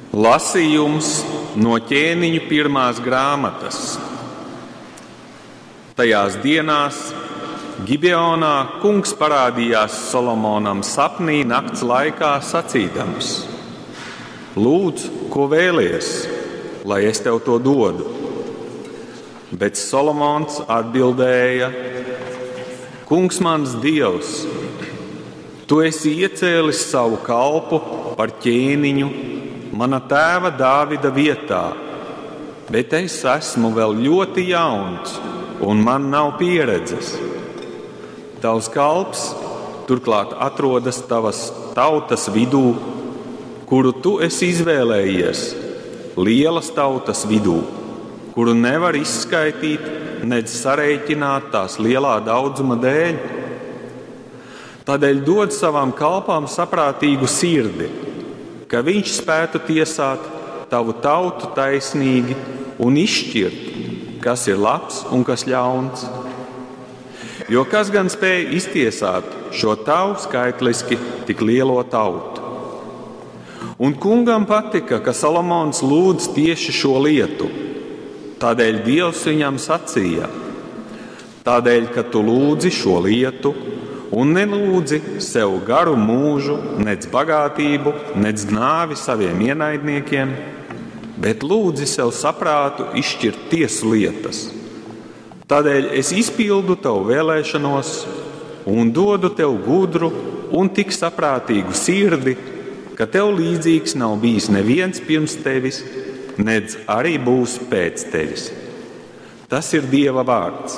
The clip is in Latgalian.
Lasījums no ķēniņu pirmās grāmatas. Tajās dienās Gibeonā kungs parādījās Solomonam sapnī nakts laikā sacīdams: Lūdz, ko vēlies, lai es tev to dodu. Bet Solomons atbildēja: Kungs mans dievs, tu esi iecēlis savu kalpu par ķēniņu mana tēva Dāvida vietā, bet es esmu vēl ļoti jauns un man nav pieredzes. Tavs kalps turklāt atrodas tavas tautas vidū, kuru tu esi izvēlējies, lielas tautas vidū, kuru nevar izskaitīt, nedz sarēķināt tās lielā daudzuma dēļ. Tādēļ dod savam kalpam saprātīgu sirdi, ka viņš spētu tiesāt tavu tautu taisnīgi un izšķirt, kas ir labs un kas ļauns. Jo kas gan spēja iztiesāt šo tavu skaitliski tik lielo tautu? Un kungam patika, ka Salomons lūdz tieši šo lietu. Tādēļ Dievs viņam sacīja: Tādēļ, ka tu lūdzi šo lietu un nelūdzi sev garu mūžu, nedz bagātību, nedz nāvi saviem ienaidniekiem, bet lūdzi sev saprātu izšķirt tiesu lietas. Tādēļ es izpildu tavu vēlēšanos un dodu tev gudru un tik saprātīgu sirdi, ka tev līdzīgs nav bijis neviens pirms tevis, nedz arī būs pēc tevis. Tas ir Dieva vārds.